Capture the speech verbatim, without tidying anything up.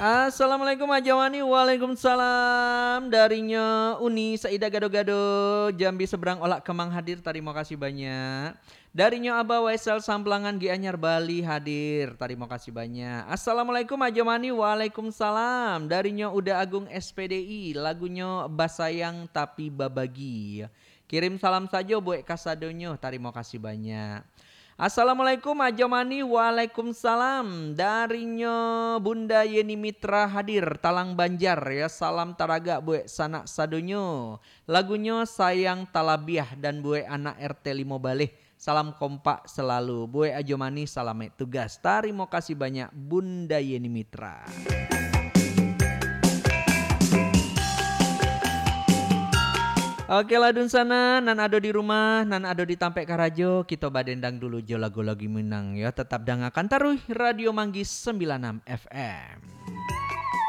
Assalamualaikum Ajo Mani. Waalaikumsalam. Darinyo Uni Saida Gado-Gado, Jambi Seberang Olak Kemang hadir. Tarimo kasih banyak. Darinyo Abah Waisal Samplangan Gianyar Bali hadir. Tarimo kasih banyak. Assalamualaikum Ajo Mani. Waalaikumsalam. Darinyo Uda Agung S P D I, lagunyo Basayang Tapi Babagi. Kirim salam sajo buek kasadonyo. Tarimo kasih banyak. Assalamualaikum Ajo Mani. Waalaikumsalam. Darinyo Bunda Yeni Mitra hadir, Talang Banjar, ya. Salam taragak buek sanak sadonyo. Lagunyo Sayang Talabiah dan buek anak R T limo baleh. Salam kompak selalu. Buek Ajo Mani, salamaik tugas. Tarimo kasih banyak Bunda Yeni Mitra. Oke lah, dunsanak, nan ado di rumah, nan ado di tampek karajo, kito badendang dulu jo lagu-lagu Minang, yo. Tetap dangakan taruih Radio Manggis sembilan enam F M.